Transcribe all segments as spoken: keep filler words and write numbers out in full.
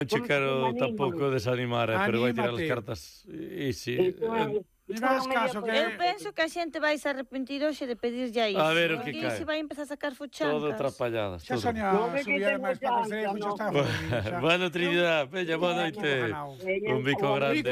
Non che quero tampouco desanimar, eh, pero vai tirar as cartas. E si... Non hagas caso que... Eu penso que a xente vais a arrepentir hoxe de pedirlle a iso. A ver o que cae. Se vai empezar a sacar fuchancas. Todo atrapalladas. Xa Sonia subía máis para construir, xa está. Bueno, Trinidad, bella, boa noite. Un bico grande.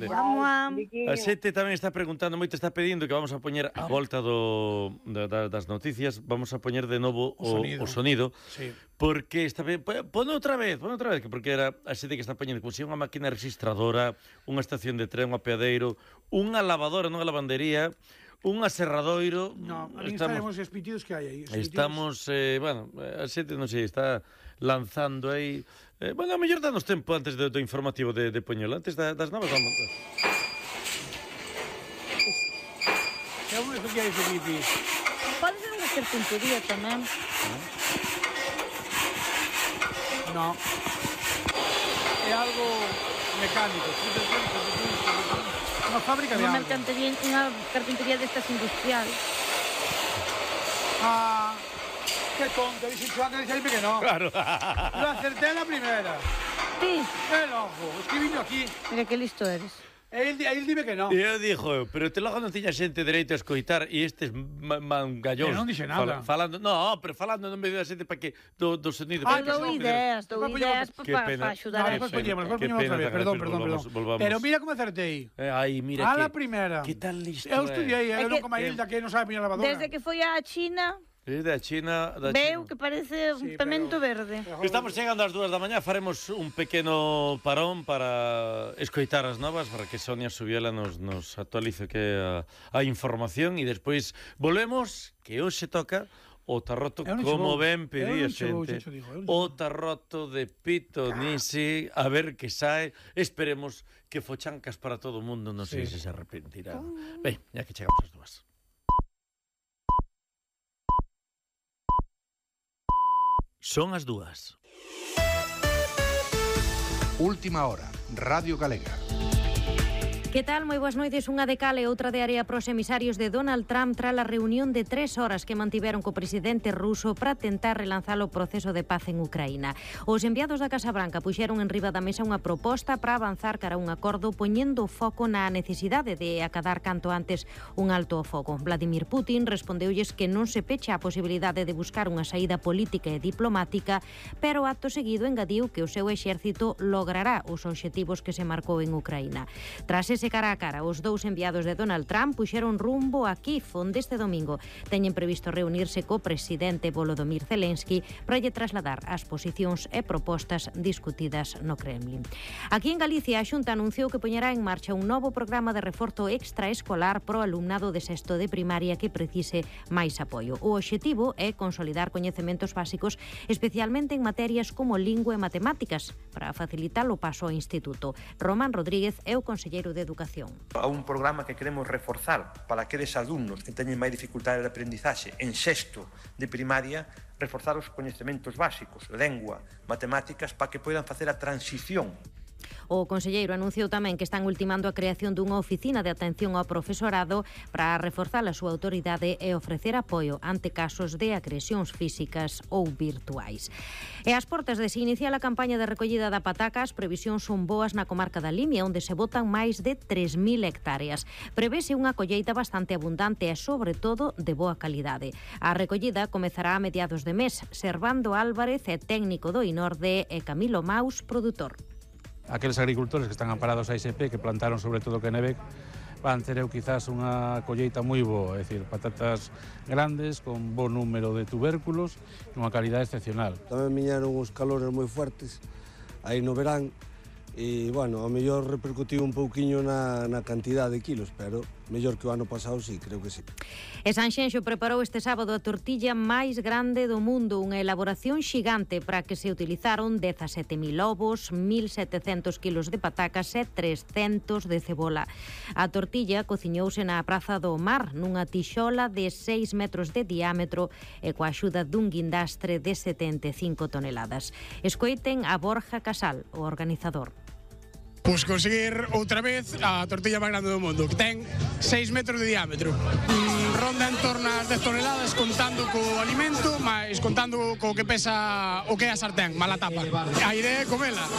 A xente tamén está preguntando, moito está pedindo que vamos a poñer a volta do, das noticias, vamos a poñer de novo o, o sonido. Sí. Porque está ben, pon outra vez, pon outra vez, porque era a xente que está poñendo como se unha máquina registradora, unha estación de tren, un apeadeiro, unha lavadora nunha lavandería, un aserradoiro. No, a mí estamos os pitidos que hai aí. Estamos, eh, bueno, a xente non sei, está lanzando aí. Eh, bueno, a mellor danos tempo antes do, do informativo de, de Poñol, antes da, das novas vamos. Que é un especial de pipi. Pode ser unha carpintería tamén. No. É algo mecánico. Unha fábrica de algo. Unha carpintería destas industrial. Ah, que tonto. Dixen que antes dixeime que non. Claro. Lo acerté a la primera. Sí. El ojo. Escribindo aquí. Mira que listo eres. El, el dime que non. E eu dixo, pero te logo non tiña xente dereito a escoitar e estes mangallóns. Non dixe nada. Falando, no, pero falando non me dio a xente para que do, do sonido. Ah, dou ideas, dou ideas para axudar. Despois poñemos, despois poñemos outra vez. Perdón, perdón, perdón. Pero mira como acertei. Ai, mira que... A la que, primera. Que tal listo. Eu estudiei, eu non como a Hilda que non sabe poñer lavadora. Desde que foi a China... Desde a China, da Veu China. que parece un sí, pemento pero... verde. Estamos chegando ás dúas da mañá, faremos un pequeno parón para escoitar as novas, para que Sonia Subiela nos, nos actualice que a, a información e despois volvemos, que hoxe toca o tarroto, como ben pedía xente, o tarroto de Pitonisi, a ver que sae, esperemos que fochancas para todo o mundo, non sei sí. se se arrepentirá. Ben, ya que chegamos ás dúas. Son as dúas. Última hora, Radio Galega. Que tal? Moi boas noites. Unha de cal e outra de área pros emisarios de Donald Trump tras a reunión de tres horas que mantiveron co presidente ruso para tentar relanzar o proceso de paz en Ucraína. Os enviados da Casa Branca puxeron en riba da mesa unha proposta para avanzar cara a un acordo poñendo foco na necesidade de acadar canto antes un alto ao fogo. Vladimir Putin respondeulles que non se pecha a posibilidade de buscar unha saída política e diplomática, pero acto seguido engadiu que o seu exército logrará os obxectivos que se marcou en Ucraína. Tras ese cara a cara, os dous enviados de Donald Trump puxeron rumbo a Kiev, onde este domingo teñen previsto reunirse co presidente Volodymyr Zelensky para lle trasladar as posicións e propostas discutidas no Kremlin. Aquí en Galicia, a Xunta anunciou que poñerá en marcha un novo programa de reforzo extraescolar pro alumnado de sexto de primaria que precise máis apoio. O obxectivo é consolidar coñecementos básicos, especialmente en materias como lingua e matemáticas, para facilitar o paso ao instituto. Román Rodríguez é o conselleiro de Educación. A un programa que queremos reforzar para aqueles alumnos que teñen máis dificultade de aprendizaxe en sexto de primaria, reforzar os coñecementos básicos, lengua, matemáticas, para que poidan facer a transición. O conselleiro anunciou tamén que están ultimando a creación dunha oficina de atención ao profesorado para reforzar a súa autoridade e ofrecer apoio ante casos de agresións físicas ou virtuais. E ás portas de se iniciar a campaña de recollida da pataca, as previsións son boas na comarca da Limia, onde se botan máis de tres mil hectáreas. Prevese unha colleita bastante abundante e, sobre todo, de boa calidade. A recollida comezará a mediados de mes. Servando Álvarez é técnico do Inorde e Camilo Maus, produtor. Aqueles agricultores que están amparados a I S P, que plantaron sobre todo Quenebec, van ter eu quizás unha colleita moi boa, é dicir, patatas grandes, con bo número de tubérculos e unha calidade excepcional. Tamén viñeron os calores moi fuertes aí no verán e, bueno, a mellor repercutiu un pouquiño na, na cantidad de kilos, pero mellor que o ano pasado, sí, creo que sí. E Sanxenxo preparou este sábado a tortilla máis grande do mundo, unha elaboración xigante para que se utilizaron dezasete mil ovos, mil setecentos kilos de patacas e trescentos de cebola. A tortilla cociñouse na Praza do Mar, nunha tixola de seis metros de diámetro e coa axuda dun guindastre de setenta e cinco toneladas. Escoiten a Borja Casal, o organizador. Pois conseguir outra vez a tortilla máis grande do mundo, que ten seis metros de diámetro. Ronda en torno ás dez toneladas contando co alimento, máis contando co que pesa o que é a sartén, mala tapa. A idea é comela.